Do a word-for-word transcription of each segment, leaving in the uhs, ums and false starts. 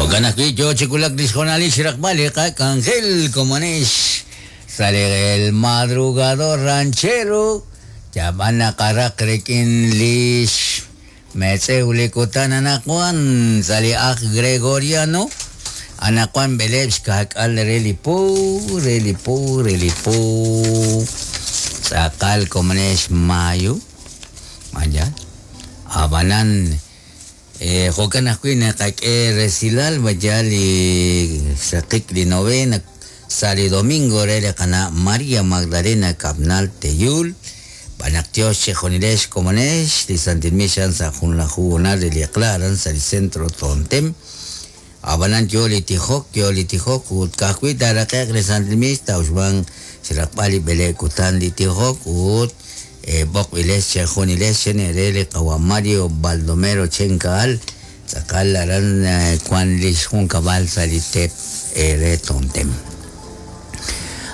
Jo'kan ajwi' yo chi wulak li xjoonalil xraqb'al li qak'anjel komonex sa' li El Madrugador Ranchero yab'an naqaraq rik'in lix metz'ew li kutan anaqwan sa' li aj Gregoriano anaqwan b'eleb' xka'k'al re li po re li po re li po tz'aqal komonex mayo maya ab'anan eh, jo'kan ajwi' naqak'e resilal vaya li xraqik li novena sa' li domingo re li qana' María Magdalena Cabnal Teyul b'anaq Dios chejonilex komonex li Santil Mixan sa' junlaju honal re li eq'la aran sa' li centro Tontem ab'anan yo li tijok yo li tijok ut ka'ajwi' taaraqe'q li Santil Mix tawxb'an xraqb'al li b'ele kutan li tijok ut eh, b'oqb'ilex chejonilex xene re li qawa Mario Baldomero Chenkaal tz'aqal aran eh, kwan li xjunkab'al sa' li tep eh, re Tontem.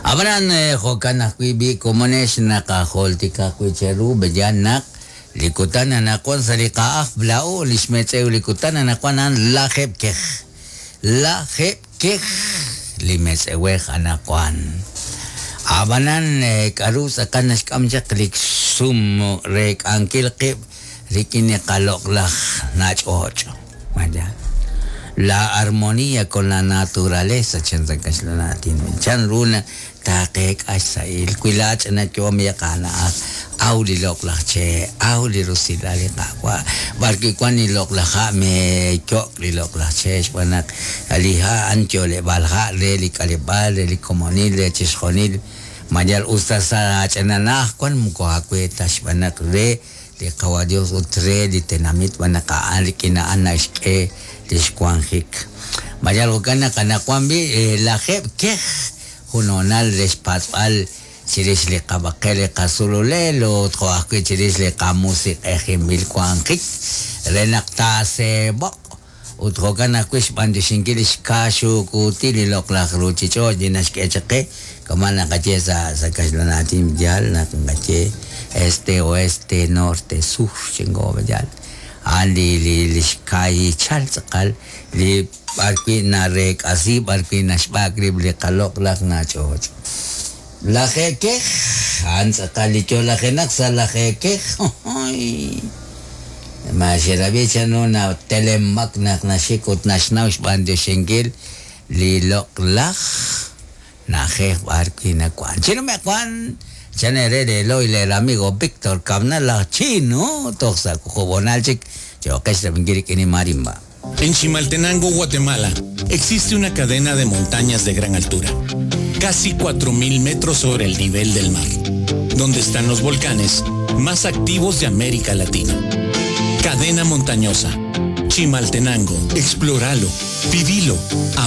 Ab'anan eh, jo'kan ajwi' b'i komonex naqajoltika ajwi' cheru b'eyan naq li kutan anaqwan sa' li qa'aj bla'o li xmetz'ew li kutan anaqwan a'an lajeb' kej lajeb' kej li metz'ewej anaqwan ab'anan eh, k'aru tz'aqal naxk'am chaq li sum re k'ankil qib' rik'in li qaloq'laj nach'och' maya la armonía con la naturaleza chan sa kaxlanatin chan runa taqeek'ax sa'il wilach na yom yaqana'aj aw li loq'laj che aw li rusilal li qa'wa b'arwi wan li loq'laj ha' me yo'k li loq'laj che xb'aan naq li ha' an yo'leb'aal ha' re li k'aleb'aal re li komonil re chixjonil mayal usta sa ch'ananaj wan moko awe ta xb'aan naq re li qawa Dios ut re li tenamit b'aan naq a'an rik'in a'an naxk'e li xwanjik mayal jo'kan naq anaqwan b'i eh, lajeb' kej junonal re xpatz'b'al chirix li qab'aqel li qasululel ut jo' ajwi' chirix li qamusiq'ejinb'il wanjik re naq taaseeb'oq ut jo'kan ajwi' xb'antixinkil li xkaaxukuutil li loq'laj ruuchich'och' li naxk'e chaq qe kama' naqaye sa' sa' kaxlanaatin yaal naq naqaye este oeste norte sur chingo yaal a'an li li li xkaayichal tz'aqal li b'arwi' nareek'asi b'arwi' naxb'ak rib' li qaloq'laj nach'och' lajekej a'an tz'aqal li yo'lajenaq sa' lajekej ma xerab'i chanu na telemak naq naxik ut naxnaw xb'antixinkil li loq'laj na'ajej b'arwi' nawan chinume'q wan chan ere leloy el amigo Víctor Cabnal laj chino toj sa' jub'onal chik cho'qex rab'inkil rik'in li marimba. En Chimaltenango, Guatemala, existe una cadena de montañas de gran altura, casi cuatro mil metros sobre el nivel del mar, donde están los volcanes más activos de América Latina. Cadena montañosa. Chimaltenango, explóralo, vivilo, amalo.